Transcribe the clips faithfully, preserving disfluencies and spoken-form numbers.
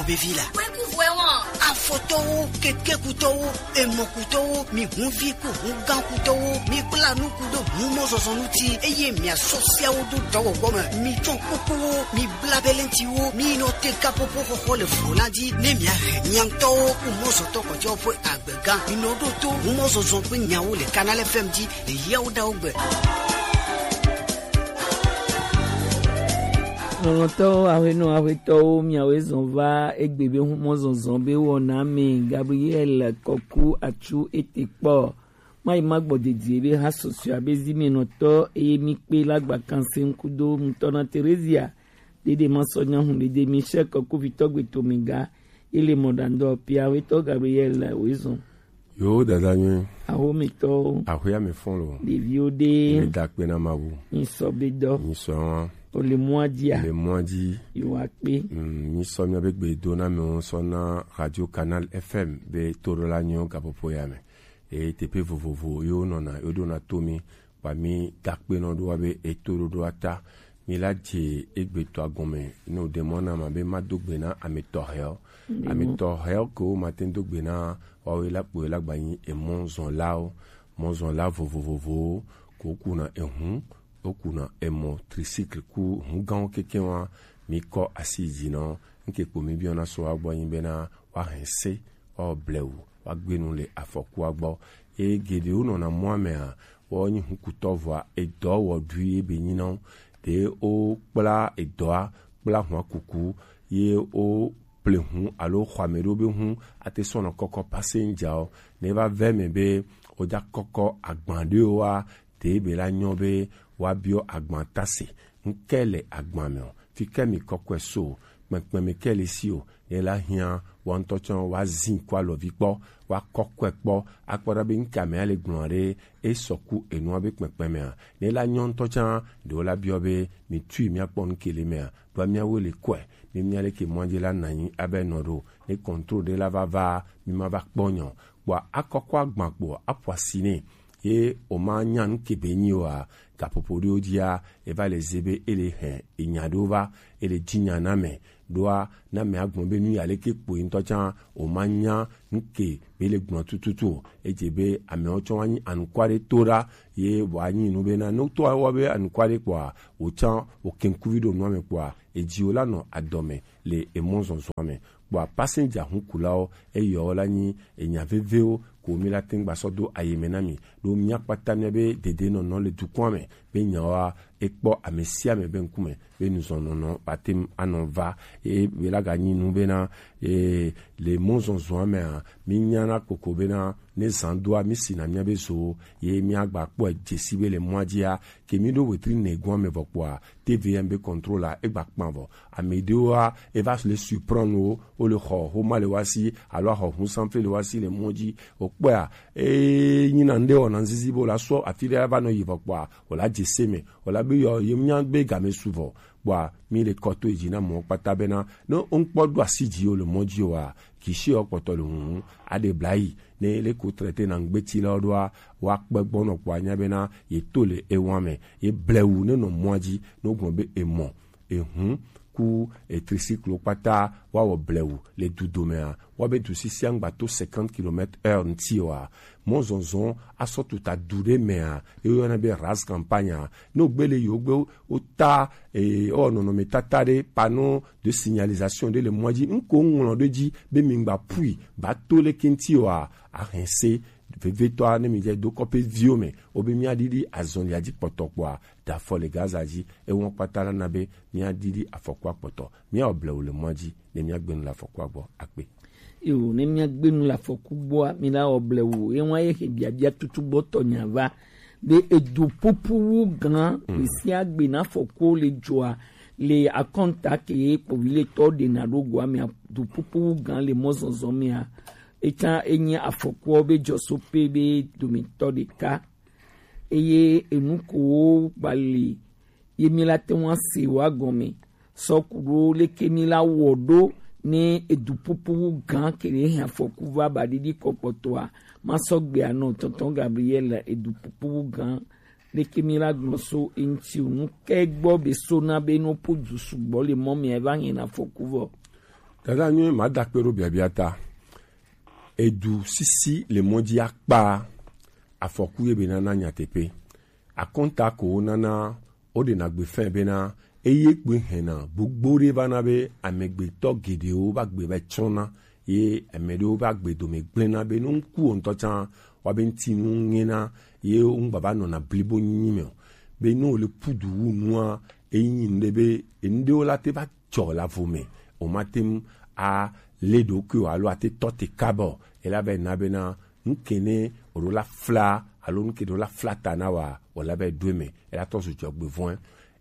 Bevi la. Afɔtɔwo, kekekutɔwo, emɔkutɔwo, mi hunvi ku hungãkutɔwo, mi kpla nuku ɖo humɔzɔzɔ ŋuti, eye miasɔ siawo do dɔwɔwɔ me. Mi tsɔ kukuwo, mi bla belentiwo, mi nɔ te kapopo xɔxɔ le vlo la dzi, ne miahe miaŋtɔwo ku mɔzɔtɔ kɔjɔ ƒe agbega. Mi nɔ ɖo to humɔzɔzɔ ƒe nyawo le Canal F M dzi le yawo ɖawo gbe. Lɔlɔ̃tɔwo, aƒenɔ, aƒetɔwo, miawoe zɔ va egbe be humɔzɔzɔ be wɔna me. Gabriel Kɔku Atsu ete kpɔ. Mayi magbɔ dedie be ha susua be zimenɔtɔ eye mi kpe la gba kanse ŋkudo ŋutɔ na Terezia. Dede masɔ nyahu dede Michel Kɔku vitɔ gbe to mi ga. Ele mɔ ɖandɔ pia wetɔ Gabriel woe zɔ. Yo, dada nyuie. Ahometɔwo. Ahoya me fɔn lo. Ɖeviwo ɖe. Mi da kpe na Mawu. Mi sɔ be dɔ. Mi sɔ wa. O le mɔa dzi a? Le mɔa dzi. Yo wa kpe. Mm, mi sɔ mia be gbe do na me sɔ na Radio Canal F M be to ɖo la nyo gapopo ya me. E teƒe vovovo yo nɔna yo ɖo na to mi. Kpa mi da kpe nɔ ɖo wa be eto ɖo ɖo ata. Mi la dze egbetɔ agɔme no ɖe mɔ na ma be ma do gbe na ametɔ hɛɔ. Ametɔ hɛɔ ke wo ma te do gbe na wa we la kpo la gba nyi emɔ zɔn lao, mɔ zɔn la vovovovowo ko kuna ehun, o kuna emɔ tricycle ku hun gãwo keke wa mi kɔ asi dzi nɔ. Nke kpo mi biɔ na so wa gbɔ nyi be na wa hɛn se wa blewu wa gbenu le afɔkua gbɔ. E geɖewo nɔna mɔa mea, wɔ nyi hukutɔ vɔa edɔ wɔ ɖui ebe nyi nɔ. Ɖe wo kpla edɔa kpla hua kuku ye wo ple hu alo xɔ ame ɖewo be hu ate sɔnɔ kɔkɔ passenger o. Ne va vɛ me be wo dza kɔkɔ agban ɖewo wa, ɖe be la nyɔ be wa biɔ agban tase ŋkɛ le agban me o. Fi ke mi kɔkɔe so o, kpɛkpɛ mi ke le si o. Ne la hiã wa ŋutɔ tsã wa zin kɔ alɔvi kpɔ, wa kɔkɔe kpɔ, akpɔ ɖa be ŋka mea le gblɔ ɖe e sɔku enua be kpɛkpɛ mea. Ne la nyɔ ŋutɔ tsã ɖewo la biɔ be mi tui mia kpɔ ŋke le mea, ɖoa mia wo le kɔe, mi mia le ke mɔa dzi la nanyi abe nɔ ɖo. Ne contrôle ɖe la va va, mi ma va kpɔ nyɔ. Kpɔa akɔkɔ agban kpɔ aƒo asi nɛ. Ye o ma nya nu ke be nyi wa, gaƒoƒo ɖewo dzia, e va le ze be e le hɛn enya ɖewo va, e le dzi nya na mɛ. Ɖoa na mɛ agblɔ be nu ya leke kpoe ŋutɔ tsã o ma nya nu ke be le gblɔ tututu o. Edze be amewo tsɔ wa nyi anukwa ɖe to ɖa ye wa nyi nu be na ne to wa be anukwa ɖe kpɔa, o tsã o kenkuvi ɖo nua me kpɔa, edzi o la nɔ adɔme le emɔ zɔzɔa me. Kpɔa passenger hukulawo eyɔwo la nyi enya vevewo ko mi la teŋ gba sɔ do ayi me na mi. Ɖo mia kpata mia be dedenɔnɔ le dukɔa me be nyawoa ekpɔ ame sia ame be ŋkume be nuzɔnɔnɔ ba te ŋu anɔ va. Ye be la ga nyi nu bena, ye le mɔzɔzɔa mea, mi nyana koko bena ne zan doa mi sina mia be zo ye mia gba kpɔe dzesi be le mɔa dzia ke mi ɖo wetri ne gɔa me vɔ kpɔa T V M be contrôle la egba kpan vɔ. Ame ɖewoa eva le surprendre wo, wo le xɔ xoma le wa si alo axɔ hun sanfle le wa si le mɔ dzi. O kpɔa e nyina ŋɖe wɔna ŋzizi be o la sɔ afi ɖe va nɔ yi vɔ kpɔa o la dze se me, o la be yɔ ye nya be game su vɔ. Kpɔa mi le kɔ to dzi na mɔ kpata bena ne o ŋkpɔ ɖo asi dzi o le mɔ dzi oa, kisi o kpɔtɔ le huhu aɖe bla yi ne le ko traité na ŋgbeti la ɖoa wa kpe gbɔnɔ kpɔa nya bena ye to le ewa me ye blewu ne nɔ mɔa dzi ne o gblɔ be emɔ ehun ku etrisiklo kpata wa wɔ blewu le du domea wa be du sisia ŋgba to cinquante kilomètres heure ŋti oa mɔ zɔzɔn asɔ tuta du ɖe mea ye yɔna be ras campagne a ne o gbe le yi o gbe o ta e o nɔnɔme tata ɖe panneau de signalisation ɖe le mɔa dzi ŋko ŋlɔ ɖe dzi be mi ŋgba pui ba to le kenti oa ahɛn se vevetɔa ne mi dze do kɔƒe viwo me o be mia ɖiɖi azɔlia dzi kpɔtɔ kpɔa da afɔ le Gaza dzi, ewɔn kpata la na be mia ɖiɖi afɔkua kpɔtɔ. Mia wɔ blewu le mɔa dzi ne mia gbenu le afɔkua gbɔ akpe. Yo, ne mia gbenu le afɔku gbɔa, mi la wɔ blewu. Ye ŋua ye he biabia tutu gbɔtɔ nya va be edu pupu wu gan mm. Sia gbe na afɔku le dzoa le akɔnta ke ye kpovi le tɔ de na ɖo goa mea du pupu wu gan le mɔzɔzɔ mea. Eta enye afɔkuawo be dzɔsope be dometɔ ɖeka. Eye enu kowo gba li ye mi la te ŋu ase wa gɔme sɔ ku ɖo leke mi la wɔ ɖo ne edu pupu wu gan ke ne hɛn afɔku va ba ɖiɖi kɔ kpɔtɔa ma sɔ gbe anɔ tɔntɔn Gabriel edu pupu wu gan leke mi la gblɔ so eŋti o nu ke gbɔ be so na be no po du sugbɔ le mɔ mi va hɛn afɔku vɔ. Dada nyuie, ma dakpe ɖo biabia ta. Edu sisi le mɔ dzi akpa afɔku ye be nana nyateƒe. Akɔnta ko wonana woɖena gbe fɛn bena eye gbe hɛna gbogbo ɖe va na be amegbetɔ geɖewo va gbe va tsɔna ye ame ɖewo va gbe dome gblẽna be ne ŋku wo ŋutɔ tsã wa be ŋutinu ŋena ye ŋgba va nɔna blibo nyinyi me o. Be ne wole pudu wu nua, eyi nyi nu ɖe be enu ɖewo la te va dzɔ le avo me, o ma te ŋu a le ɖokuiwò alo ate tɔ te kaba o. Ela va yi na bena nuke ne o ɖo la fla alo nuke ɖo la fla ta na wa o la va yi ɖo eme. Ela tɔ zu dzɔgbevɔ̃e.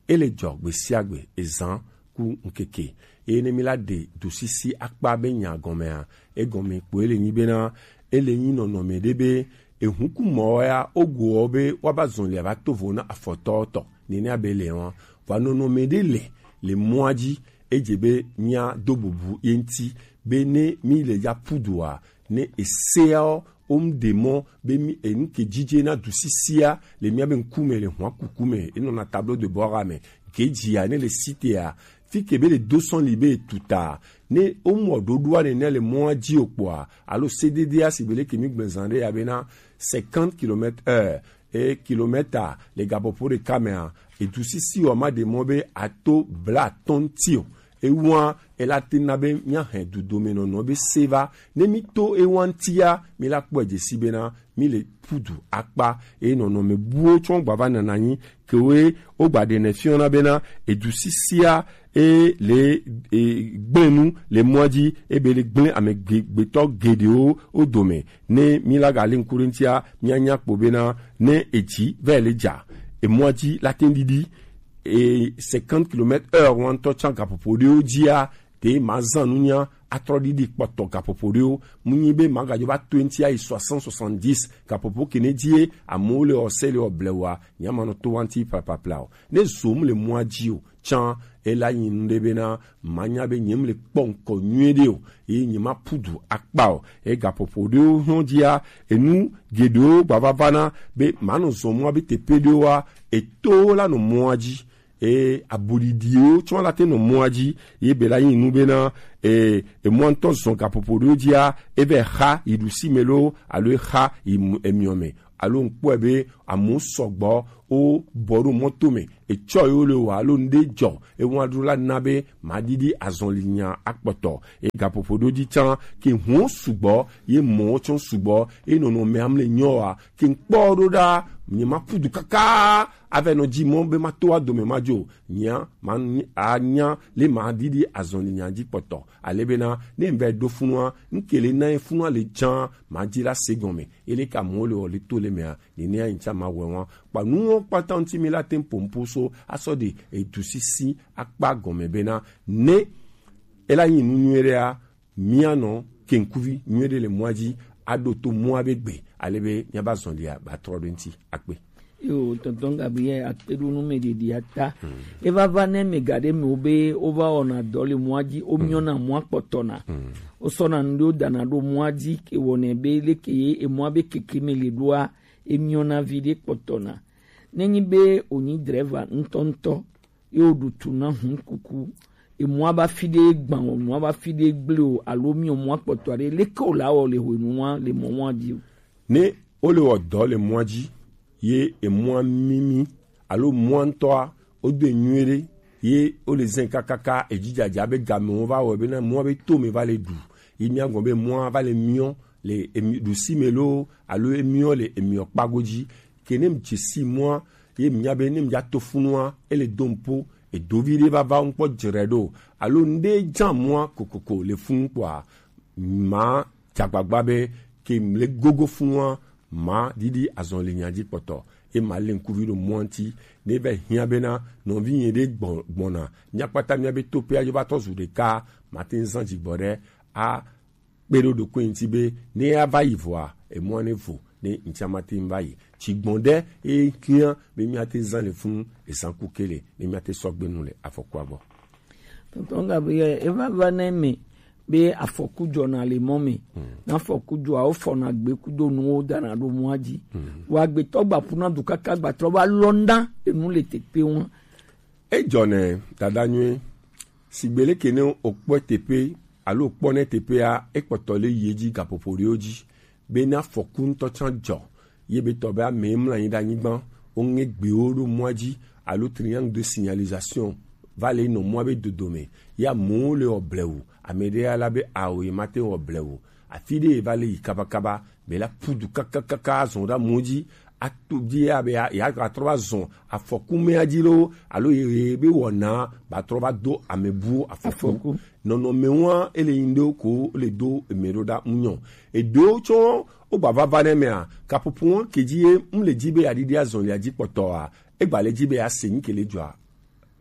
Ele dzɔ gbe sia gbe, ezan ku ŋkeke. Eye ne mi la ɖe dusisi akpa be nya gɔmea, egɔme kpo ele nyi bena ele nyi nɔnɔme ɖe be ehukumɔ ya ogoɔ be woava zɔn lia va to vo na afɔtɔ tɔ nene abe le wɔn. Vɔ nɔnɔme ɖe le le mɔa dzi, edze be mia do bubu ye ŋuti be ne mi le ya pudoa, ne eseawo wo mu ɖe mɔ be mi enu ke dzidze na du sisia le mia be ŋkume le hua kuku me, enɔna tableau de bord me, gedzia ne le sitea, fi ke be le do sɔn li be etuta, ne wo mu ɖoɖoa nene le mɔa dzi o kpɔa, alo sededea si be le ke mi gblẽ zan ɖe ya bena cinquante kilomètres heure, e kilomètre le gaƒoƒo ɖeka mea, edu sisi wa ma ɖe mɔ be ato blatɔ̃ ŋuti o. Ewa ela te na be mia hɛ dudomenɔnɔ be se va. Ne mi to ewa ŋutia, mi la kpɔe dzesi bena mi le pudu akpa. Eye nɔnɔme buwo tsɔ gba va nana nyi kewoe wo gba ɖe ne fiɔna bena edu sisia e le e gblẽ nu le mɔa dzi, ebe le gblẽ ame ge- gbetɔ geɖewo wo dome. Ne mi la gali ŋku ɖe ŋutia, mia nya kpo bena ne edzi va le dza, emɔa dzi la te ɖiɖi e cinquante kilomètres heure wa ŋutɔ tsã gaƒoƒo ɖewo dzia, te ma zan nunya atrɔ ɖiɖi kpɔtɔ gaƒoƒo ɖewo. Mu nyi be ma gadzo va to ŋuti ayi soixante, soixante-dix gaƒoƒo ke ne dzie amewo le ɔse le ɔblewa, nya ma nɔ to wa ŋuti plapla o. Ne zom le mɔa dzi o tsã, ela nyi nu ɖe bena manya be nyem le kpɔ ŋkɔ nyuie ɖe o, eye nyema pudu akpa o. Eye gaƒoƒo ɖewo hɔn dzia, enu geɖewo gbavava na be manɔ zɔn mɔa be teƒe ɖewoa, eto la nɔ mɔa dzi. Eye abuɖiɖiwo tsɔ la te nɔ mɔa dzi, ye be la nyi nu bena e emɔa ŋutɔ zɔn gaƒoƒo ɖewo dzia, eve xa yi ɖusi me lo alo exa yi mu- emiɔ me. Alo ŋkpɔe be amewo sɔgbɔ wo bɔ ɖo mɔto me, etsɔ yewo le wa alo ŋɖe dzɔ, ewa ɖo la na be maɖiɖi azɔli nya akpɔtɔ. Egaƒoƒo ɖo dzi tsã ke huwo sugbɔ, ye mɔwo tsɔ sugbɔ, ye nɔnɔme amle nyɔ wa ke ŋkpɔ ɖo ɖa, nye ma ƒu du kaka ave nɔ dzi mɔ be ma to wa dome ma dzo nya ma anya le maɖiɖi azɔli nya dzi kpɔtɔ. Ale bena ne ŋvɛ ɖo funua, ŋke le na ye funua le tsã ma dzi la se gɔme. Ele ka mɔ le wɔ le to le mea, nene anyi tsã ma wɛ wa. Kpa nuwo kpata ŋuti mi la te ŋ pompo so asɔ ɖe edu sisi akpa gɔme bena ne ela nyi nu nyuie ɖea, mia nɔ keŋkuvi nyuie ɖe le mɔa dzi aɖo to mɔa be gbe ale be mia ba zɔn lia ba trɔ ɖo ŋuti akpe. Yo, tonton Gabriel, akpe ɖo nu me ɖeɖi ata. Eva va ne me ga ɖe me wo be wo va wɔna dɔ le mɔa dzi, wo miɔna mɔa kpɔtɔna. Wo sɔna nu ɖewo dana ɖo mɔa dzi ke wɔnɛ be leke ye emɔa be keke me le ɖoa, emiɔna vi ɖe kpɔtɔna. Nenyi be wònyi drɛva ŋutɔŋutɔ, ye wòɖu tu na hun kuku, emɔa ba fi ɖe gbã o, mɔa ba fi ɖe gble o, alo miɔ mɔa kpɔtɔ aɖe, leke wòla wɔ le hwenua le mɔ wa dzi o? Ne wole wɔ dɔ le mɔa dzi, ye emɔa mimi, alo mɔa ŋutɔa, wodo nyuie ɖe, ye wole zɛn kakaka, edzidzaja be gamewo va wɔ bena mɔa be tome va le ɖu, ye mia gɔn be mɔa va le miɔ le emi ɖusi me loo, alo emiɔ le emiɔ kpago dzi. Ke ne mi dze si mɔa, ye mi nya be ne mi dza to funua, ele do ŋpo, edovi ɖe va va ŋkpɔ dzre ɖo, alo ŋɖe dza mɔa kokoko le funu kpɔa, ma dze agbagba be ke mi le gogo funua, ma ɖiɖi azɔli nya dzi kpɔtɔ, ye ma le ŋkuvi ɖo mɔa ŋuti, ne va hiã bena nɔvi nye ɖe gbɔ- gbɔna, mia kpata mia be to pe adzo va tɔ zu ɖeka, ma te ŋu zã dzigbɔ ɖe a kpe ɖo ɖokui ŋuti be ne ava yi vɔa, emɔa ne vo, ne ŋuti ama te ŋu va yi. Tsi gbɔn ɖe eye hiã be mia te zã le funu ezã ku ke le, ne mia te sɔgbe nu le afɔkua gbɔ. Tonton Gabriel, eva va ne me be afɔku dzɔna le mɔ me. Na afɔku dzɔa, wo fɔna gbe kudo nuwo dana ɖo mɔa dzi. Wa gbetɔ gba ƒuna du kaka gba trɔ va lɔnda enu le tekpe ŋu. Edzɔnɛ dada nyuie. Sigbe leke ne wokpɔe teƒe alo kpɔ nɛ teƒea, ekpɔtɔ le yi edzi gaƒoƒo ɖewo dzi, bena afɔku ŋutɔ tsã dzɔ, ye be tɔ be ame mlɔ anyi ɖe anyigba, woŋe gbewo ɖo mɔa dzi, alo triangle de signalisation va le nɔ mɔa be dodome, ye amewo le wɔ blewu, ame ɖe ya la be awo ye mate wɔ blewu, afi ɖe ye va le yi kabakaba, be la ƒu du kakakaka azɔ ɖe amewo dzi, ato dzi ya be ya, ya trɔ va zɔ afɔku mea dzi loo, alo ye, ye be wɔna ba trɔ va do ame buwo afɔku. Afɔku. Nɔnɔmewoa, ele yin ɖewo ko le do eme ɖo ɖa ŋu nyɔ. Eɖewo tsɔ wo gba vava ne mea, kaƒoƒo wɔn ke dzi ye ŋu le dzi be ya ɖiɖi azɔlia dzi kpɔtɔa, egba le dzi be ya se nu ke le dzɔa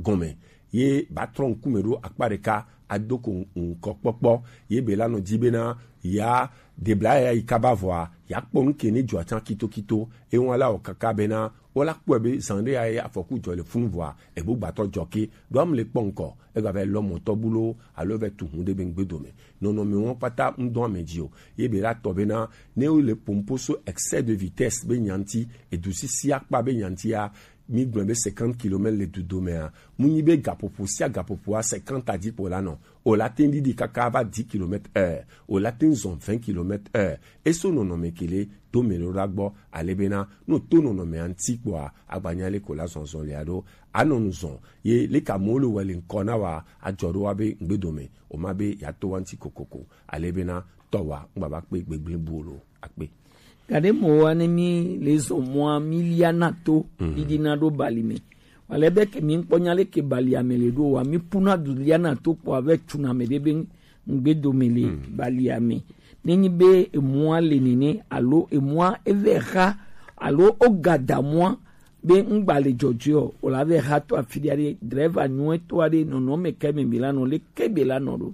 gɔme, ye ba trɔ ŋkume ɖo akpa ɖeka ado ko ŋkɔ kpɔkpɔ, ye be la nɔ dzi bena ya debla ya yi kaba vɔa, ya kpɔ nu ke ne dzɔa tsã kitokito, ewa la wɔ kaka bena wo la kpɔe be zan ɖe ya ye afɔku dzɔ le funu vɔa, ebo gbatɔ dzɔ ke, ɖo am le kpɔ ŋkɔ, ega va lɔ mɔtɔ bulo, alo va tu hu ɖe be ŋgbe dome. Nɔnɔme wɔn kpata ŋdɔ ame dzi o, ye be la tɔ bena ne wo le pompo so excès de vitesse be nyanti, edu sisi akpa be nyantia, mi gblɔ be cinquante kilomètres le du domea, mu nyi be gaƒoƒo sia gaƒoƒoa cinquante adzi kpo la nɔ. O la te ɖiɖi kaka va dix kilomètres heure. O la te zɔn vingt kilomètres heure. Eso nɔnɔme ke le do me ɖo ɖa gbɔ, ale bena, no to nɔnɔme anti kpɔa, agbanya le ko la zɔn zɔn le aɖo. Anɔ nu zɔn. Ye le ka mo le wɔ le ŋkɔ na wa, adzɔ ɖo wa be ŋgbe dome. O ma be ya to wa ŋti kokoko. Ale bena, tɔ wa, ŋgba va kpe gbegble bu lo. Akpe. Gaɖe mɔ wa ne mi le zɔn mɔa mi lia na to, mhm, ɖiɖi na ɖo bali me. Wale be ke mi ŋkpɔ nya le ke bali ame le ɖo wa, mi puna du lia na to kpɔ ave tsuna me ɖe be ŋgbe dome le, mhm, bali ame. Ne nyi be emɔa le nene, alo emɔa eve xa, alo o gada mɔa be ŋgba le dzɔdzɔe o, o la ve xa to afi ɖe, driver nyuie to aɖe nɔnɔ me ke me be la nɔ, le ke be la nɔ ɖo.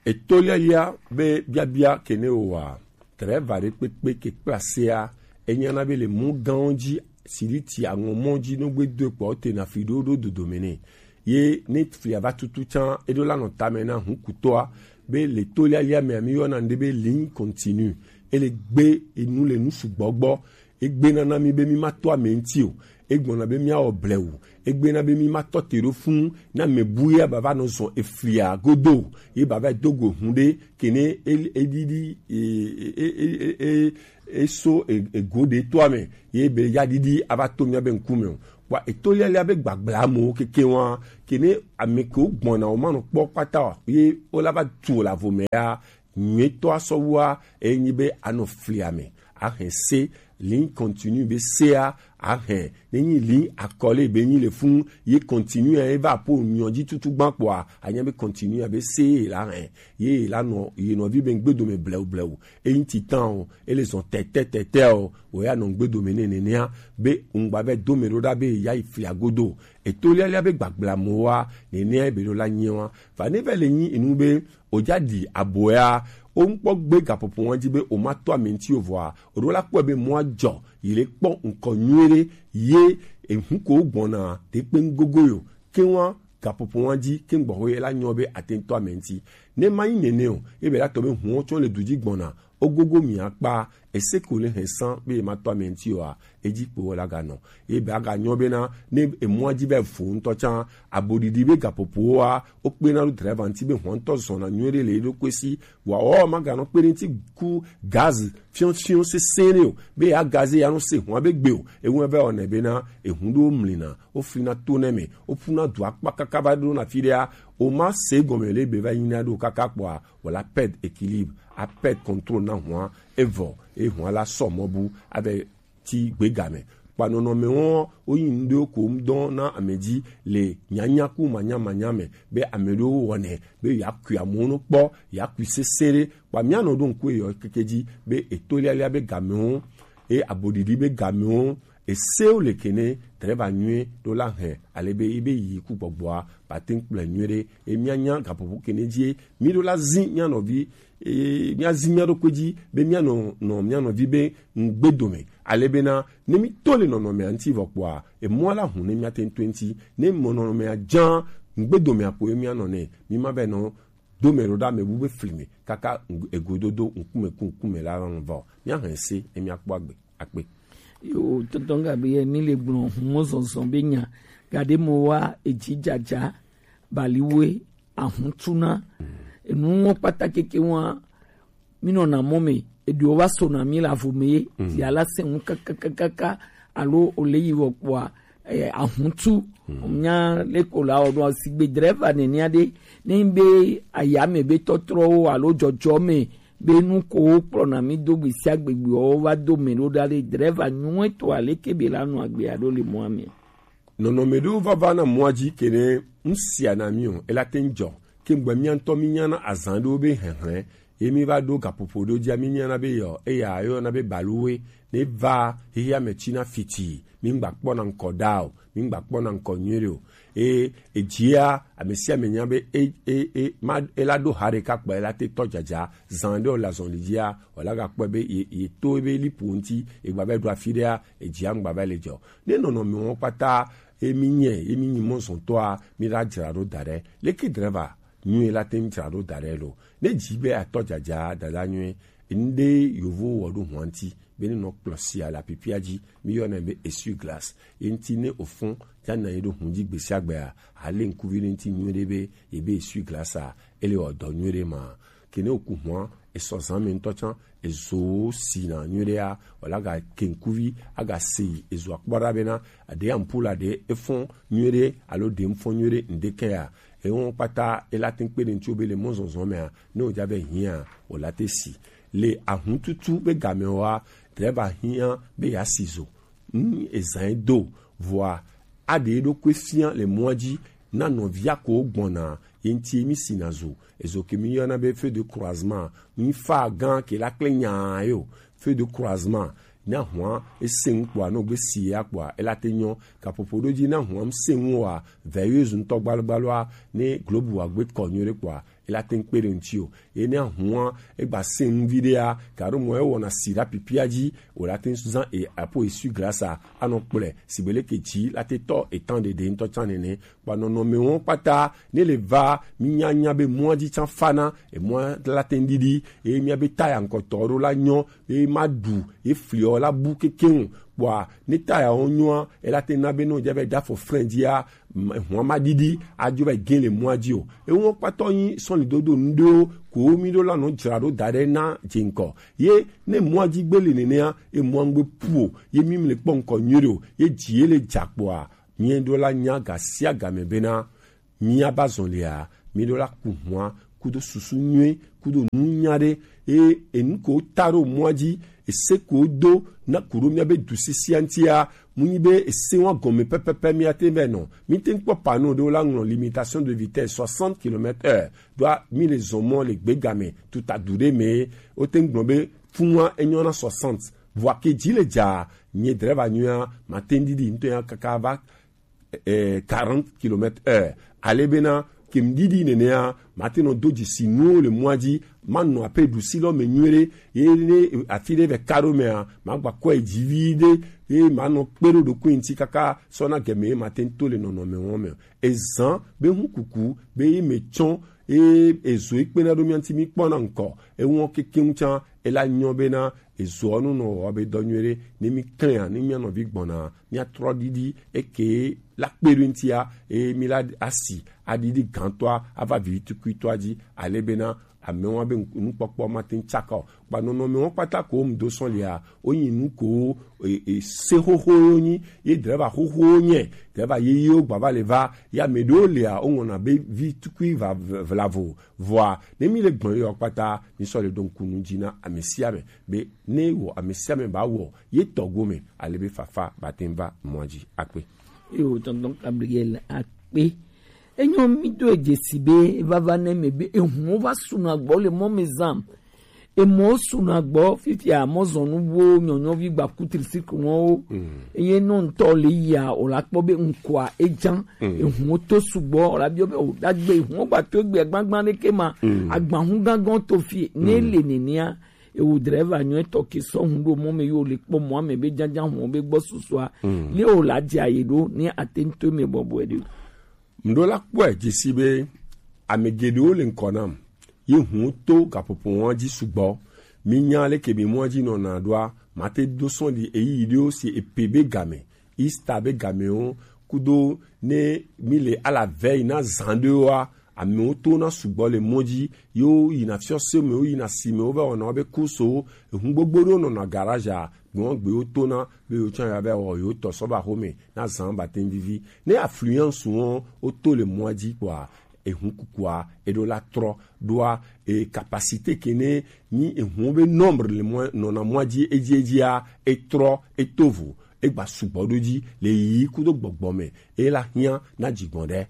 Etolialia be biabia ke ne wòa, drɛva ɖe kpekpe ke kpla sea, enyana be le mɔ gãwo dzi, siriti aŋɔ mɔ dzi, no gbe do kpɔ, wotena fi ɖo ɖo dodome nɛ. Ye ne flia va tutu tsã, eɖo la nɔ tame na hukutɔa, be le tolialia mea, mi yɔna ŋɖe be ligne continue. Ele gbe enu le nu sugbɔ gbɔ. Egbena na mi be mi ma to ame ŋuti o. Egblɔna be miawɔ blewu. Egbena be mi ma tɔ te ɖo fũ na ame bu ye bava nɔ zɔn eflia godo o. Ye bava do go hun ɖe kene e, e ɖiɖi, e, e, e, e, e, e so e, ego ɖe to ame. Ye be ya ɖiɖi ava to mia be ŋkume o. Kpɔ etolialia be gbagbla amewo keke wa. Kene ame kewo gbɔna wo ma nɔ kpɔ kpata o. Ye wo la va tu wo le avo me ya. Nyuitɔ asɔwua enyi be anɔ flia me, ahɛn se, ligne continue be sea, ahɛn, ne nyi ligne akɔle be nyi le fun, ye continue ya eva po nyɔ dzi tutu gban kpɔa, anya be continue ya be se ye la hɛn, ye la nɔ, ye nɔvi be ŋgbe dome blewu blewu, eyi titan o, ele zɔn tɛtɛ tɛtɛ o, o ya nɔ ŋgbe dome ne nenea, be ŋgba vɛ dome ɖo ɖa be ya yi flia godo, etolialia be gbagbla mo wa, nenea be ɖo la nyi wa, va ne vɛ le nyi enu be, o ja ɖi abo ya, o ŋkpɔ gbe gaƒoƒo wa dzi be o ma to ame ŋuti o vɔa, o ɖo la kpɔe be mɔa dzɔ, yi le kpɔ ŋkɔ nyuie ɖe, ye ehu ko gbɔna te kpe ŋgogo yo, ke wa gaƒoƒo wa dzi, ke ŋgbɔ ho ye la nyɔ be ate ŋu to ame ŋuti. Ne ma yi nene o, ebe la tɔ be huwo tsɔ le du dzi gbɔna, o gogo mi akpa, ese ko le hɛn san be ye ma to ame ŋuti oa, edzi kpo wo la ga nɔ. Ye be aga nyɔ bena, ne emɔa dzi vɛ vo ŋutɔ tsã, aboɖiɖi be gaƒoƒowoa, wokpena ɖo driver ŋuti be hɔn ŋutɔ zɔna nyuie ɖe le eɖokui si, vɔa wɔ maganɔ kpe ɖe ŋuti ku gaz fiɔfiɔ sesẽ ɖe o, be ya gaz ya nɔ se hɔn be gbe o, eŋu vɛ wɔnɛ bena, ehu ɖewo mlina, woflina to nɛ me, woƒuna du akpa kaka va ɖo na fi ɖea, o ma se gɔme le be va yi na ɖo kaka kpɔa, wala perd équilibre, a perd contrôle na hɔn, evɔ, e hɔn la sɔ mɔ bu, avɛ ti gbegame. Kpa nɔnɔme wɔn, woyi ŋɖewo ko ŋdɔ na ame dzi le nyanya ku manya manya me, be ame ɖewo wɔnɛ, be yakui amewo no kpɔ, yakui sese ɖe. Kpa mianɔ ɖo ŋku eyɔ keke dzi, be etolialia be gamewo, e aboɖiɖi be gamewo, esewo le kene, drɛva nyuie ɖo la hɛn, ale be, ebe yi ku gbɔgbɔa, ba te ŋu kplɔe nyuie ɖe, e mianya gaƒoƒo kene dzi, mi ɖo la zi mia nɔvi, e, mia zi mia ɖokui dzi, be mia nɔ, nɔ mia nɔvi be ŋgbe dome. Ale bena, ne mi to le nɔnɔmea ŋuti vɔ kpɔa, emɔa la hu ne mia te ŋu to eŋuti, ne mɔ nɔnɔmea dza, ŋgbe domea kpo ye mia nɔ nɛ, mi ma vɛ nɔ, do mɛ ɖo ɖa mɛ bu be fli me, kaka ŋ-, egododo ŋkume ku ŋkume la lɔ vɔ. Mia hɛn se, ne mia kpɔ agbe. Akpe. Yo, tɔntɔn Gabriel, mi le gblɔ humɔ zɔzɔ be nya, gaɖe mo wa edzi dzadza, baliwe, ahuntuna, Enu ŋɔ kpata keke ŋua, mi nɔna mɔ me, eɖewo va sona mi le avo me ye, ti ala sɛn ŋu kakakakaka, alo ole yi wɔ kpɔa, eh, ahuntu. Nya leko la wɔ ɖo sigbe drɛva nɛnɛ aɖe, ne be ayame be tɔtrɔwo alo dzɔdzɔ me be nu ko wo kplɔna mi do gbe sia gbe gbewo va do me ɖo ɖa ɖe drɛva nyuɛ to aleke be la nɔ agbe aɖo le mɔa me. Nɔnɔme ɖewo vava na mɔa dzi kene ŋsia na mi o, ela te ŋdzɔ. Ke ŋgbɛ mia ŋutɔ mi nyana azan ɖewo be hɛhlɛ, ye mi va ɖo gaƒoƒo ɖewo dzia mi nyana be yɔ, eya yɔna be baluwe, ne va xexea me tsina fiti, mi ŋgba kpɔna ŋkɔ ɖa o, mi ŋgba kpɔna ŋkɔ nyuie ɖe o. E, edzia, ame sia ame nya be e, e, e, ma, ela ɖo ha ɖeka kpɔ, ela te tɔ dzadza, zan ɖe o le azɔli dzia, o la gakpɔe be ye, ye to ebe lipo ŋuti, egba va ɖo afi ɖea, edzia ŋgba va le dzɔ. Ne nɔnɔme wɔn kpata, emi nye, emi nyi mɔzɔntɔa, mi la dzra ɖo da ɖe. Leke drɛva nyuie la te ŋu dzra ɖo da ɖe lo? Ne dzi be atɔ dzadza dada nyuie, ŋɖe yovo wɔ ɖo hɔn ŋuti, be ne nɔ kplɔ sia le apipia dzi, mi yɔnɛ be essuie-glace. Ye ŋuti ne ofɔn, dza na ye ɖo hun dzi gbe sia gbea, ale ŋkuvi ɖe ŋuti nyuie ɖe be ye be essuie-glace a, ele wɔ dɔ nyuie ɖe ma. Ke ne oku hɔn, esɔ zan me ŋutɔ tsã, ezo sina nyuie ɖea, wala ga ke ŋkuvi, aga se yi, ezo akpɔ ɖa bena, aɖe ampoule aɖe efɔn nyuie ɖe, alo ɖe ŋfɔn nyuie ɖe, ŋɖe kɛ ya. Ewo kpata, ela te ŋu kpe ɖe ŋuti wo be le mɔzɔzɔ mea, ne wodza be hiã, wòla te si. Le ahuntutu be game wa, drɛva hiã be yeasi zo. Ŋu ezã ye do, vɔa, aɖe eɖokui fia le mɔa dzi, na nɔvia ko gbɔna, ye ŋuti mi sina zo. Ezo ke mi yɔna be feu de croisement, mi fa gã ke la kple nya yo. Feu de croisement, na hua, ese ŋu kpɔa, no gbe si ya kpɔa, ela te nyɔ. Kaƒoƒo ɖo dzi na hua, ŋse ŋu wa, veilleuse ŋutɔ gbalogbalua, ne globe wa gbe kɔ nyuie ɖe kpɔa, ela te ŋu kpe ɖe ŋuti o. Ye ne ahua, egba se ŋu viɖea, gaɖo mɔ ewɔna si ɖe apipia dzi, wòla te ŋu zã e apo essuie-glace a, anɔ kplɔe, sigbe leke dzi la te tɔ etã ɖeɖe ŋutɔ tsã nene. Kpa nɔnɔme wɔn kpata, ne le va, mi nya nya be mɔa dzi tsã fana, emɔa la te ŋu ɖiɖi, eye mia be taya ŋkɔtɔ ɖo la nyɔ, eye ma ɖu, ye fliɔ la bu kekeŋ. Kpɔa, ne taya wo nyɔa, ela te na be ne wodza be ɖa fɔ frein dzia, m-, hɔn ma ɖiɖi, adzo va yi gẽ le mɔa dzi o. Ewo kpatɔ nyi sɔlidodo ŋɖewo ko mi ɖo la nɔ dzra ɖo da ɖe na dze ŋkɔ. Ye ne mɔa dzi gbe le nenea, ye mɔa ŋgbe pu o, ye mi le kpɔ ŋkɔ nyuie ɖe o, ye dzi ye le dza kpɔa, mi ɖo la nya ga sia ga me bena, mi aba zɔn lia, mi ɖo la ku hua, kudo susu nyuie, kudo nunya ɖe, e, enu ko ta ɖo mɔa dzi, ese ko do, na ku ɖo mia be du sisia ŋutia, mu nyi be ese wa gɔme pɛpɛpɛ mia te vɛ nɔ. Mi te ŋkpɔ panneau ɖewo la ŋlɔ limitation de vitesse soixante kilomètres heure. Ɖoa mi le zɔn mɔ le gbegame, tuta du ɖe me, wo te ŋgblɔ be fun wa enyɔ na soixante. Vɔa ke dzi le dza, nye drɛva nyuia, ma te ŋɖiɖi ŋutɔ ya kaka va eh, quarante kilomètres heure. Ale bena, ke ŋɖiɖi nenea, mate nɔ do dzesi nuwo le mɔa dzi, manɔ ape ɖusi lɔ me nyuie ɖe, ye ne afi ɖe vɛ ka ɖo mea, magba kɔe dzi vi ɖe, ye manɔ kpe ɖo ɖokui ŋuti kaka sɔ na gɛme ye mate ŋu to le nɔnɔme wɔn me. Ezan be hu kuku, be ye me tsɔ, ye ezo ye kpena ɖo mia ŋuti mi kpɔna ŋkɔ, ewɔ kekeŋ tsã, ela nyɔ bena, ezoɔ nu nɔ wɔ be dɔ nyuie ɖe, ne mi klɛa, ne mia nɔvi gbɔna, mia trɔ ɖiɖi, eke la kpe ɖo ŋutia, eye mi la asi, aɖiɖi gãtɔa, ava vivitukuitɔa dzi, ale bena, amewo be nukpɔkpɔ mate ŋu tsaka o. Kpa nɔnɔme wɔn kpata ko wo mu do sɔn lia, wo nyi nu ko, e, e, se xoxo yo nyi, ye drɛva xoxo nye, drɛva yeyewo gba va le va, ya me ɖewo lia, wo ŋɔna be vi tukui va v-, vlavo, vɔa, ne mi le gbɔn yɔ kpata, mi sɔ le ɖo ŋku nu dzi na ame sia ame, be ne wɔ ame sia ame ba wɔ ye tɔ gome, ale be fafa ba te ŋu va mɔa dzi akpe. Yo, tonton Gabriel akpe. Enyo mi do edze si be vava ne me be ehuwo va suna gbɔ le mɔ me zam. Emɔwo suna gbɔ fifia mɔzɔnu wo nyɔnyɔvi gba ku tricycle wɔwo. Eye nɔ ŋutɔ le yia, o la kpɔ be ŋkɔa ejan. Ehuwo to sugbɔ, o la biɔ be o dagbe ehuwo gba to egbe gbagba ɖeke ma. Agbahu gangɔn to fie, ne le nenea, ewu drɛva nyuie tɔ ke sɔ hun ɖo mɔ me yo le kpɔ mɔ ame be janjan hun be gbɔ susua. Le o la dze aye ɖo, ne ate ŋutɔ me bɔbɔe ɖe. Mɖo la kpɔe dzesi be ame geɖewo le ŋkɔ nam. Ye hun to gaƒoƒo wɔn dzi sugbɔ. Mi nya leke mi mɔa dzi nɔna ɖoa, mate do sɔn ɖi eyi ɖewo si epe be game, Easter be gamewo, kudo ne mi le ala vɛ yi na zan ɖewoa, Amewo tona sugbɔ le mɔ dzi, yewo yina fiɔse me, wo yina si me, wo va wɔna wobe course wo. Ehun gbogbo ɖewo nɔna garage a, gbɔn gbe wo tona be yewo tsã yewo va wɔ yewo tɔ sɔ va xome na zan ba te ŋ vivi. Ne affluence wo wo to le mɔa dzi kpɔa, ehun kukua eɖo la trɔ ɖoa, e capacité ke ne nyi ehun be nombre le mɔ nɔna mɔa dzi edzi edzia, etrɔ, eto vo, egba sugbɔ ɖo dzi le yiyi kudo gbɔgbɔ me, ela hiã na dzigbɔn ɖe.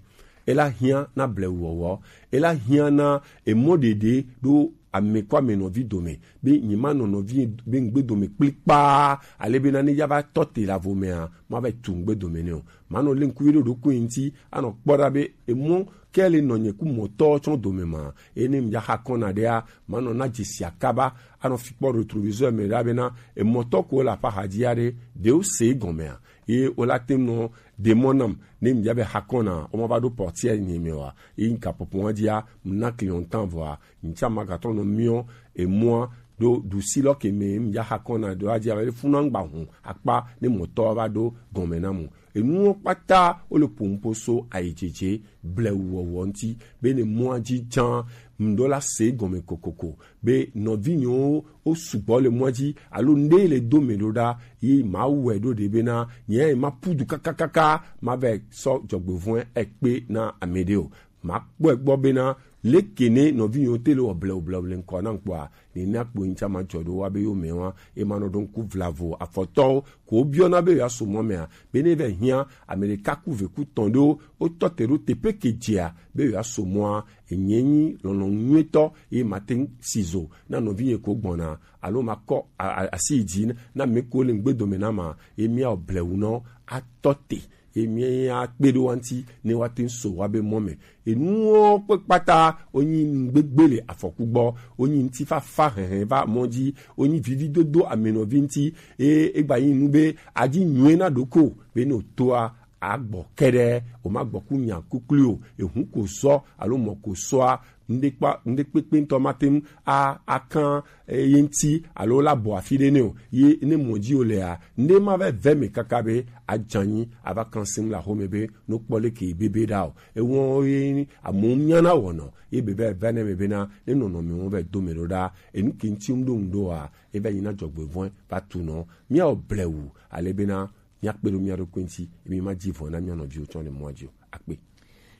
Ela hiã na blewuwɔwɔ, ela hiã na emɔ ɖeɖe ɖo ame kɔ ame nɔvi dome, be nyi ma nɔ nɔvi be ŋgbe dome kplikpaa, ale be na ne ya va tɔ te la vo mea, ma va tu ŋgbe dome ne o. Ma nɔ le ŋkuvi ɖo ɖokui ŋuti, anɔ kpɔ ɖa be emɔ ke le nɔ nye ku mɔtɔ tsɔ dome ma, eye ne ŋdza xa kɔna ɖea, ma nɔ na dzesi akaba, anɔ fi kpɔ rétroviseur me ɖa be na emɔtɔ ko le aƒe axadzi aɖe, ɖe wo se egɔmea, ye wo la te nɔ ɖe mɔ nam, ne ŋdza be xa kɔna, wo ma va ɖo portière nye me wa, ye ŋka pɔpɔ dzia, mna client tan vɔa, ŋtsa ma gatɔ nɔ miɔ emɔa ɖo ɖusi lɔ ke me ŋdza xa kɔna ɖo adzia be funa ŋgba hun akpa ne mɔtɔ va ɖo gɔme na mu. Enuwo kpata wo le ƒonuƒo so ayidzedze blewuwɔwɔ ŋuti, be ne mɔa dzi dzã, ŋɖo la se gɔme kokoko, be nɔvinyewo wo sugbɔ le mɔa dzi, alo ŋɖe le do me ɖo ɖa, yi ma wɔe ɖo ɖe bena, nye ma pu du kakakaka, ma vɛ sɔ dzɔgbevɔ̃e ekpe na ame ɖe o. Ma kpɔe gbɔ bena, leke ne nɔvinyewo te le wɔ blewublewu le ŋkɔ na ŋkpɔa, nena kpo ŋtsa ma dzɔ ɖo wa be yo me wa, e ma nɔ ɖo ŋku vlavo afɔtɔwo, ko biɔna be ya so mɔ mea, be ne vɛ hiã, ame ɖeka ku ve ku tɔn ɖewo, wo tɔ te ɖo teƒe ke dzea, be ya so mɔa, enye nyi lɔlɔ̃nu nyuitɔ, ye ma te ŋ si zo na nɔvinye ko gbɔna, alo ma kɔ a-, a-, asi yi dzi na me ko le ŋgbe dome na ma, ye mia blewu nɔ atɔ te. Ye mia kpe ɖo wa ŋuti ne wa te ŋ so wa be mɔ me. Enuwo kpe kpata, wo nyi ŋgbegbe le afɔku gbɔ, wo nyi ŋutifafa hɛhɛ va mɔ dzi, wo nyi vividodo amenɔvi ŋuti, eye egba nyi nu be adi nyuie na ɖoko be ne wòtoa agbɔ kɛɖɛ, wòmagbɔ ku nya kukli o, ehu ko sɔ alo mɔ ko sɔa, ŋɖekpa-, ŋɖekpekpe ŋutɔ mate ŋu a-, akan, eh, ye ŋuti alo la bɔ afi ɖe nɛ o. Ye ne mɔ dzi wòlea, ŋɖe ma va vɛ me kaka be adzanyi ava kan sim le axome be no kpɔ leke bebe ɖa o. Ewɔn ye amewo nya na wɔnɔ ye be va va ne me bena ne nɔnɔme wo va do me ɖo ɖa. Enu ke ŋuti ŋɖo ŋɖoa, e va nyi na dzɔgbevɔ̃e va tu nɔ. Mia o blewu ale bena mia kpe ɖo mia ɖokui ŋuti, emi ma dzi vɔ̃ na mia nɔviwo tsɔ le mɔa dzi o. Akpe.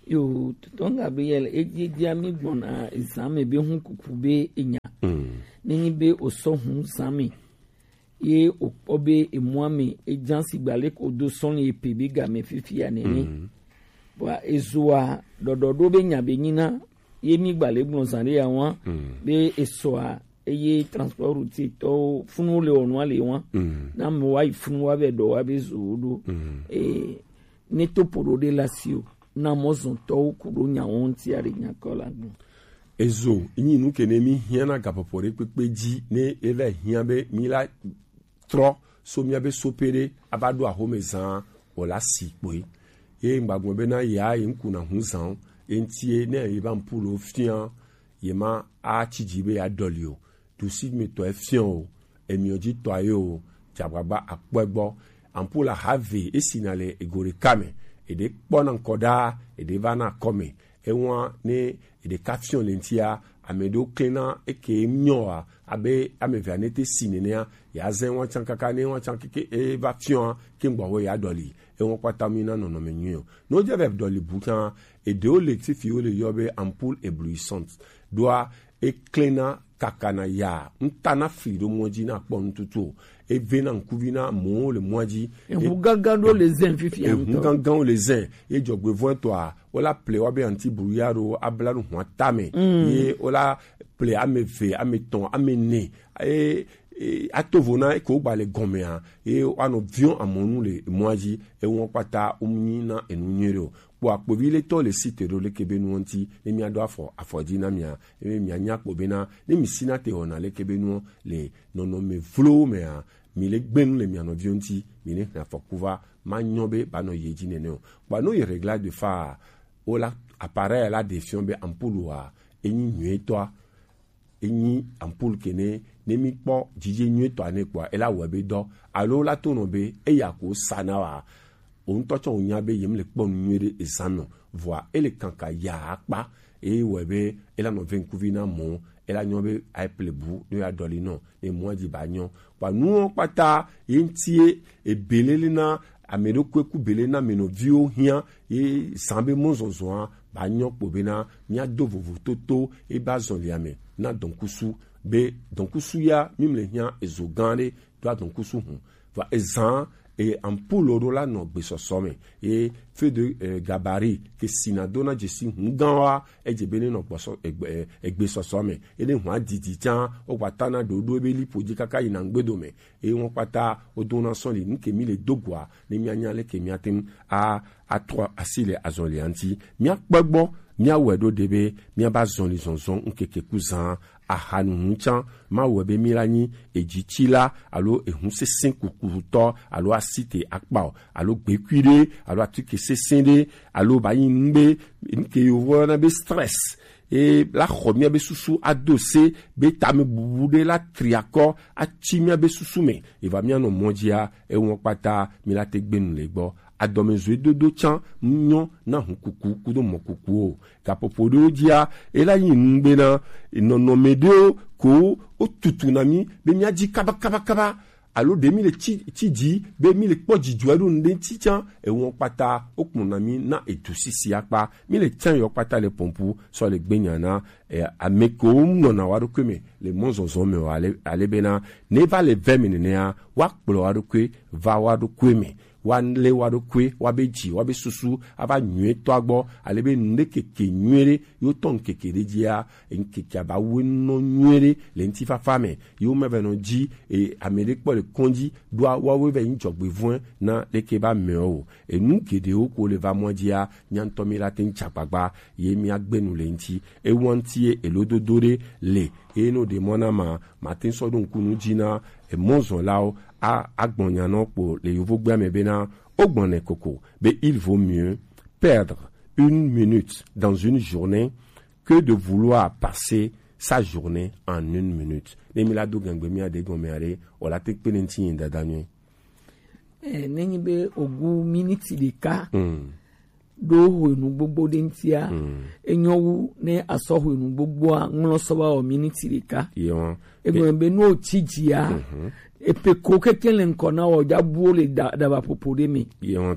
Yo, tɔtɔ ŋga be yɛlɛ, edi, edia mi gbɔna ezan me be hun kuku be enya. Mm. Ne nyi be o sɔ hun zan me. Ye o kpɔ be emua me, ejan sigba le ko do sɔn ye pe be game fifi ya nene. Mm. Bua ezoa, ɖɔɖɔ ɖo be nya be nyi na, ye mi gba le gblɔ zan ɖe ya wa, mm, be esɔa, eye transport routier tɔwo funu le wɔnua le wa. Mm. Na mo wa yi funu wa be ɖɔ wa be zo ɖo. Mm. Eh, ne to poɖo ɖe la si o. Na mɔzɔntɔwo ku ɖo nyawo ŋuti aɖe nyakɔ la gbɔ. Ezo, nyi nu ke ne mi hiã na gaƒoƒo ɖe kpekpe dzi, ne eva hiã be mi la trɔ so mia be sope ɖe ava ɖo axome zã o la si kpoe. Ye ŋgba gblɔ be na ya ye ŋku na hu zã o. Ye ŋuti ye ne ye va ŋku lo fia, ye ma a tsi dzi be ya ɖɔli o. Ɖusi me tɔ efiɔ o, emiɔ dzi tɔ ayo o, dzagbagba akpɔe gbɔ. Ampoule ahave esina le ego ɖeka me, eɖe kpɔna ŋkɔ ɖaa, eɖe vana akɔme. Ewa ne eɖeka fiɔ le ŋtia, ame ɖewo klena eke nyɔa, abe ame evea ne te si nenea, ya zɛ wa tsan kaka ne wa tsan keke eva fiɔa, ke ŋgbɔ wo ya ɖɔli. Ewa kpata mi na nɔnɔme nyuie o. Ne wodze va ɖɔli bu kan, eɖewo le fifi wo le yɔ be ampoule éblouissante. Ɖoa eklena kakana ya, ŋta na fli ɖo mɔ dzi na kpɔ ŋtutu o. Eve na ŋkuvi na mɔwo le mɔa dzi. Eŋu gãgã ɖo le zɛn fifi ya ŋutɔ. Eŋu gãgãwo le zɛn. Ye dzɔgbevɔ̃etɔa, wola ple wa be anti brouillard ɖo abla nu hua tame. Mm. Ye wola ple ame eve, ame etɔ̃, ame ene. E, e, ato vo na eke wogba le gɔmea. Ye woanɔ viɔ amɔnu le mɔa dzi. Ewɔ kpata wonyi na enu nyuie ɖe o. Kpɔ akpovi le tɔ le site ɖo leke be nuwo ŋuti, ne mia ɖo afɔ, afɔ dzi na mia, ebe mia nya kpɔ bena, ne mi sina te wɔna leke be nuwo le nɔnɔme vlowo mea, mi le gbe nu le mia nɔviwo ŋuti, mi ne hɛn afɔku va, ma nyɔ be ba nɔ yi edzi nene o. Kpɔ no yi réglage de phare, wo la appareil la ɖe fiɔ be ampoule wa, enyi nyuietɔa, enyi ampoule ke ne, ne mi kpɔ dzidze nyuietɔa ne kpɔa, ela wɔ be dɔ, alo la to nɔ be, eya ko sa na wa, o ŋutɔ tsɔ o nya be yem le kpɔ nu nyuie ɖe ezan nɔ, vɔa, ele kanka ya akpa, Eye wɔe be e la nɔ ve ŋkuvi na mɔ, e la nyɔ be ayi plebu ne ya dɔli nɔ ne mɔ dzi ba nyɔ. Kpa nuwo kpata ye ŋuti ye ebelele na ame ɖokui ku bele na ame nɔviwo hiã ye zã be mɔzɔzɔa ba nyɔ kpo bena mía do vovototo e ba zɔlia me na dɔnkusu be dɔnkusu ya mi mle hiã ezo gã ɖe do adɔnkusu hũ. Vɔ ezã e ampoule ɖo la nɔ gbesɔsɔ me ye feu de eh, gabarit ke sina do na dzesi hũ gã wa edze be ne nɔ gbɔsɔ egbe eh, egbesɔsɔ me ye ne hũ adidi tsã wo gba ta na ɖoɖo ebe lipo dzi kaka yina ŋgbedo me eye wọn kpata wo do na sɔli nu ke mi le do goa ne mía nya leke mía te ŋu a atrɔ asi le azɔlia ŋuti. Míakpɔe gbɔ, míawɔe ɖo ɖe be míaba zɔli zɔzɔ ŋkeke ku zã. Ahanuhunu tsã, mawɔe be mí la nyi edzitsila alo ehu sesẽ kukutɔ alo asite akpa o alo gbekui ɖe alo atike sesẽ ɖe alo ba nyi nu be nu ke yovo yɔna be stress e la xɔ míabe susu ado se be tamebubu ɖe la tri akɔ atsi míabe susu me eva míanɔ mɔ dzia ewɔn kpata mí la te gbe nu le gbɔ. Adɔmezɔedodo tsã nyɔ na hukuku kudo mɔkukuwo. Gaƒoƒo ɖewo dzia, ela yi nu bena nɔnɔme ɖewo ko wotutu na mí be míadzi kabakabakaba alo ɖe mí le tsi tsi dzi be mí le kpɔ dzidzɔe ɖo nu ɖe ŋuti tsã ewɔn kpata wokplɔna mí na edu sisi akpa mí le tsã yɔ kpata le pɔmpu sɔ le gbenya na eh, ame kewo nɔna wa ɖokui me le mɔzɔzɔ me o ale, ale bena ne va le vɛ me nenea woakplɔ wa ɖokui va wa ɖokui me woalé wa ɖokui woabe dzi woabe susu ava nyuietɔa gbɔ ale be nu ɖe keke nyui ɖe yewo tɔ ŋkeke ɖe dzia ŋkekea ba woe nɔ nyui ɖe le ŋutifafa me yewo meva nɔ dzi e, ame ɖe kpɔ le kɔndzi ɖoa woawoe va nyi dzɔgbevɔ̃e na leke be amewo o enu geɖewo ko le va mɔ dzia mía ŋutɔ mí la te ŋu tsa agbagba ye mía gbe nu le ŋuti ewa ŋuti ye elododo ɖe le eye ne woɖe mɔ na ma mate ŋu sɔ ɖo ŋku nu dzi na emɔzɔlawo a agbɔnya nɔ kpo le yovogbea me bena wogbɔnɛ koko be il vaut mieux perdre une minute dans une journée que de vouloir passer sa journée en une minute ne mi la do gangbe mía ɖe gɔme aɖe o la te kpe ne ŋuti nyi dada nyuie. Eh, nenyi be ogu miniti ɖeka mm. ɖo hwenu gbogbo ɖe ŋutia mm. enyo wu ne asɔ hwenu gbogboa ŋlɔ sɔ va wɔ miniti ɖeka egɔme be nu wotsi dzia mm -hmm. epe ko keke le ŋkɔ na wɔ dzabuwo le daba ƒoƒo ɖe me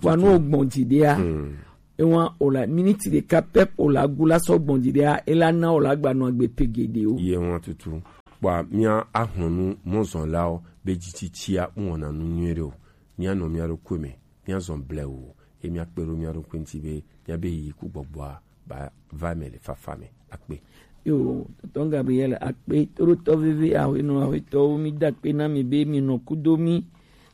kpa nu wogbɔn dzi ɖea mm. Ewa o la miniti ɖeka pɛp o la gu la sɔ gbɔn dzi ɖea ela na o la gba nɔ agbe pe geɖewo. Ye wọn tutu. Kpɔa mía ahlɔnu mɔzɔnlawo be dzitsitsia ŋwɔna nu nyuie ɖe o. Mía nɔ mía ɖokui me, mía zɔn blɛ o, ye mía kpe ɖo mía ɖokui ŋuti be mía be yi ku gbɔgbɔa ba va me le fafa me akpe. Yo, tɔntɔn Gabriel akpe toɖotɔ veve ahuenɔ ahuetɔwo mi da akpe na mi be mi nɔ kudo mi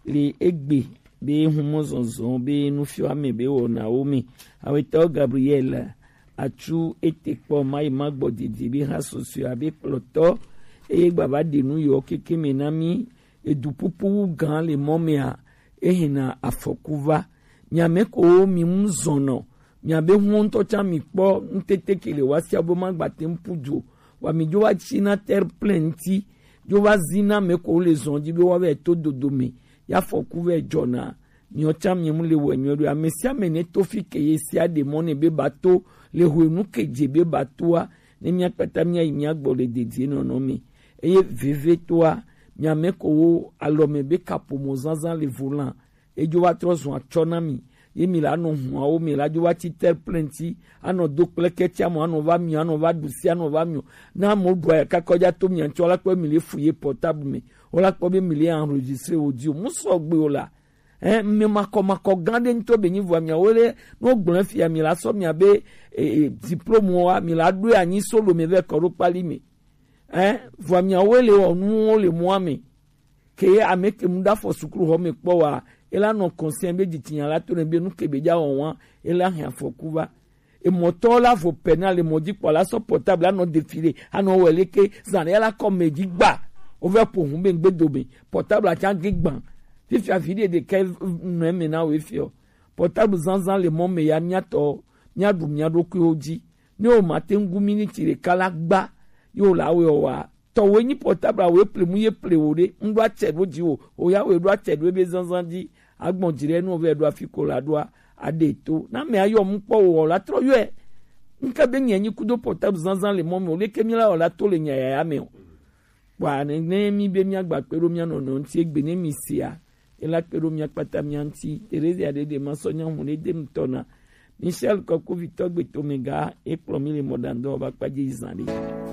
le egbe be humɔzɔzɔ be nufiɔ ame be wɔnawo me. Ahuetɔ Gabriel atsu ete kpɔ mayi magbɔ didi be ha susue abe kplɔtɔ eye gbava ɖe nu yɔ keke me na mi edu pupu wu gã le mɔ mea ehena afɔku va. Miame ko mi mu zɔnɔ miabe hu ŋutɔ tsã mi kpɔ ŋutete ke le wa sia be magbate ŋu pu du o. Wa mi dzo va tsi na terre plein ŋuti dzo va zi na ame ko le zɔn dzi be wa vɛ to dodo me ya fɔku vɛ dzɔna. Miɔ tsã mi mu le wɛ nyuie ɖo ame sia ame ne to fi ke ye sia ɖe mɔ ne be ba to le hwenu ke dze be ba toa ne mia kpata mia yi mia gbɔ le dedie nɔnɔ me. Eye veve toa miame ko wo alɔ me be kaƒomɔ zazã le volan edzo va trɔ zun atsɔ na mi ye mi la nɔ huawo mi la dzo va tsi terre plein ŋuti anɔ do kple kɛtsi amɔ anɔ va mi anɔ va ɖu si anɔ va mi o na amewo ɖua ya kaka wodza to mia ŋuti wola kpɔ mi le fu ye portable me wola kpɔ be mi le enregistre wo dzi o mu sɔgbe o la ɛn ame makɔmakɔ gã ɖe ŋutɔ be nyi vɔa miawo le ne wogblɔ fia mi la sɔ mia be e, e, diplôme wa mi la ɖoe anyi solo me vɛ kɔ ɖo kpali me ɛn vɔa miawo le wɔ nuwo le mɔa me ke ye ame ke mu ɖe afɔ sukluxɔ me kpɔ wa ela nɔ conscient be dzitsinya la to ne be nu ke be dza wɔn wa ela hɛn afɔku va emɔtɔ la vo pɛ na le mɔ dzi kpɔ la sɔ portable anɔ défilé anɔ wɛ leke zan ya la kɔ mɛ dzi gba o vɛ po hun be ŋgbe do me portable atsa gbe gban fifia vi ɖe ɖe kɛ nɔ eme na wo efiɔ portable zanzan le mɔ me ya miatɔ miaɖu mia ɖokuiwo dzi ne o ma te ŋu miniti ɖeka la gba ye o la wɛ o wa tɔwòe nyi portable awoe ple mu ye ple wò ɖe ŋɖo atsɛ ɖo dzi wò o ya wòe ɖo atsɛ ɖo ebe zanzan dzi agbɔn dzi ɖe nu wòvɛ ɖo afi ko la ɖoa aɖe to na mɛ ayɔ mu kpɔ wò la trɔ yɔe Nka be nyi anyi kudo portable zanzan le mɔ me o, leke mi la wɔ la to le nya yaya me o. Kpɔa ne, ne mi be mi agba kpe ɖo mia nɔnɔ ŋuti egbe ne mi sia, e la kpe ɖo mia kpata mia ŋuti. Teresia ɖe ɖe ma sɔ nya ŋu ne de ŋutɔ na. Michel Kɔkuvitɔ gbe to me ga, e kplɔ mi le mɔɖaŋdɔ ba kpadze yi zan ɖe.